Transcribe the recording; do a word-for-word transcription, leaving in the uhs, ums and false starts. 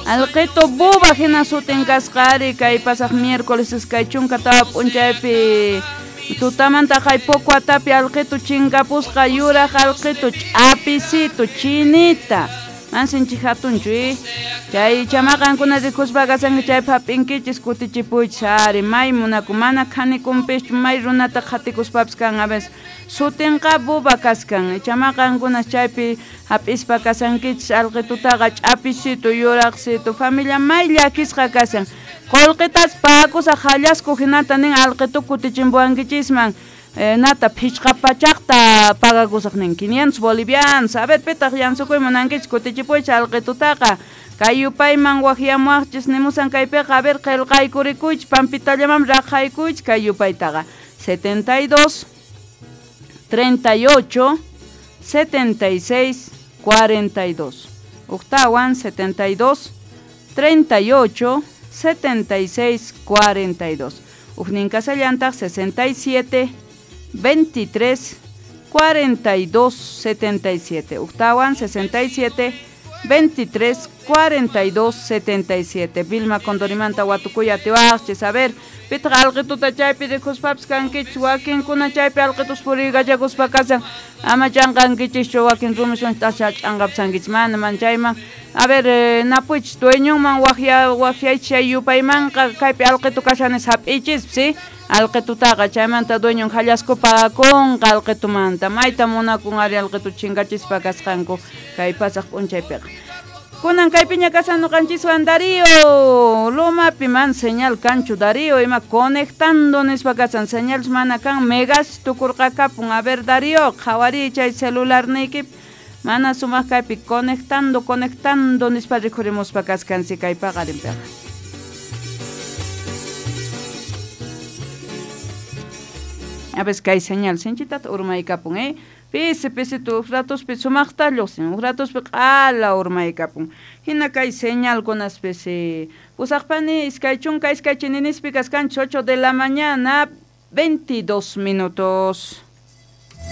Alqito buba hina sutin kasqari kay pasaq miércoles iskay chunka tawa p'unchaypi tutamanta kay poco atapi alqito chinkapusqa yuraq alqito ch'apisito chinita mansinchik hatunchu eh chay chamaqankuna rikuspa kasanki chaypi hap'inkichis kutichipuychis ari may munaku mana khanikunpischu may runata qhatikuspapis kan a veces sutinqa buba kaskan chamaqankuna chaypi hap'ispa kasankichis alqitutaqa ch'apisito yuraqsito familia may llakisqa kasan qullqitas pagakusaq hallasku hinata nin alqitu kutichimpuwankichisman eh, nata phichqa pachaqta pagakusaq nin quinientos bolivianos a ver pitaq yansukuy munankichis kutichipuychis alqitutaqa kay yupayman waqyamuwaqchis nimusan kaypiqa a ver qillqaykurikuychis pampitallaman raqaykuychis kay yupaytaqa setenta y dos treinta y ocho setenta y seis cuarenta y dos octawan setenta y dos treinta y ocho setenta y seis cuarenta y dos ujnin kasallantaq sesenta y siete veintitrés cuarenta y dos setenta y siete octawan sesenta y siete veintitrés cuarenta y dos setenta y siete Vilma Condorimanta watukuy atiwaqchis a ver pitaq alqituta chaypi rikuspapis kankichis wakinkuna chaypi alqitus puriykachakuspa kasan ama chanqankichischu wakin rumiswan tasha ch'anqapisankichis mana man chayman a ver eh, napuychis dueñonman waqya waqyaychis chay yupaymanqa kaypi alqitu kashanis hap'ichispi si alqitutaqa chaymanta dueñon hallasku pagakunqa alqitumanta mayta munakun ari alqitu chinkachispa kasqanku kay pasaq p'unchaypiqa kunan kaypiña kasan ñuqanchiswan Darío Lomapi man señal kanchu Darío ima conectando nispa kasan señal mana kan megas tukurqakapun a ver Darío qhawariy chay celularniykipi mana sumaq kaypi conectando conectando nispa rikhurimuspa kaskansi kay paqarinpiqa a veces kay señal sinchitata urmaykapun eh pisi pisitu huk ratuspi sumaqta lluqsin huk ratuspi q'ala urmaykapun hina kay señalkunaspisi pusaqpani iskay chunka iskay chininispi kaskanchis ocho de la mañana veintidós minutos.